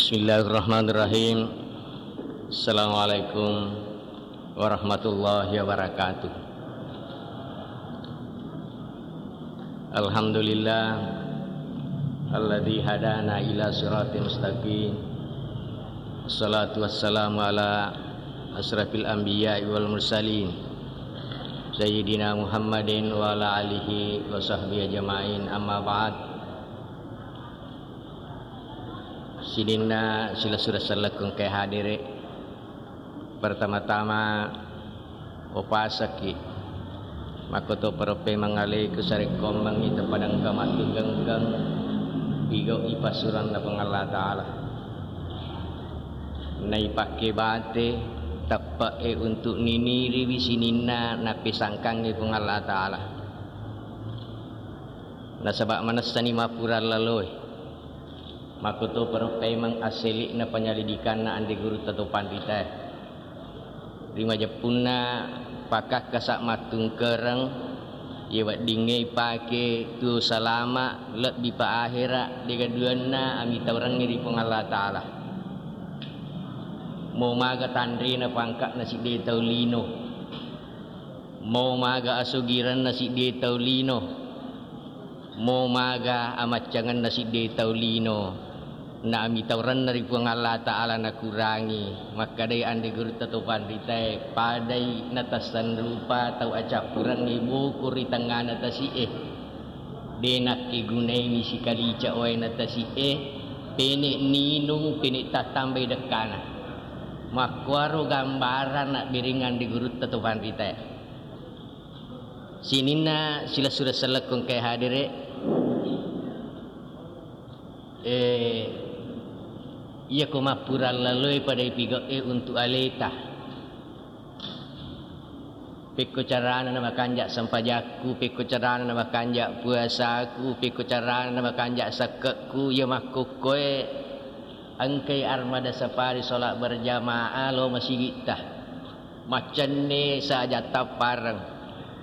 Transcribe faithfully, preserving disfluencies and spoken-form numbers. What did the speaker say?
Bismillahirrahmanirrahim. Assalamualaikum warahmatullahi wabarakatuh. Alhamdulillah alladzi hadana ila siratal mustaqim. Wassalatu wassalamu ala asrafil anbiya'i wal mursalin, sayyidina Muhammadin wa ala alihi wa sahbihi ajma'in, amma ba'd. Sininna silessureng sellekku engkae hadere, pertama-tama upasakki makkotoparo pemeng aleku sarekkoammengngi tepadengka mattugengkeng pigau'i passuranna Puang Allah Ta'ala. Naipakke bate teppe'e untuk niniriwi sininna nappesangkangngi Puang Allah Ta'ala. Nasaba manessani mappura laloe. Makkotoparo pemeng assele'na penyelidikanna ande gurutta to panritae. Ri majeppunna pakakkasa mattungkereng, ye weddingnge ipake tuo salama, lebbi pa ahera, degaduanna amitaurengnge ri Puang Allah Ta'ala. Mo maga tanrena pangka'na sidde tau lino. Mo maga asugirenna sidde tau lino. Mo maga amaccangenna sidde tau lino, na amitaurenna ri Puang Allah Ta'ala nakurangi, makkadai ande gurutta to panritae, padai natassanrupa tau acappurengnge boko ri tengngana tasi'e. De nakkegunaiwi sikalica waena tasi'e, pene ninung, pene tattambai dekkana. Makkuaro gambaran nabbereng ande gurutta to panritae. Sininna silessureng sellekku engkae hadere, eh, iyako mappura laloe pada ipigau'e untuk aleta. Pekko carana namakanja sempajakku, pekko carana namakanja puasaku, pekko carana namakanja sekkekku, iya makkokkoe engkai armada sapari sholat berjamaah lo masigitta. Maccenne saja tappareng.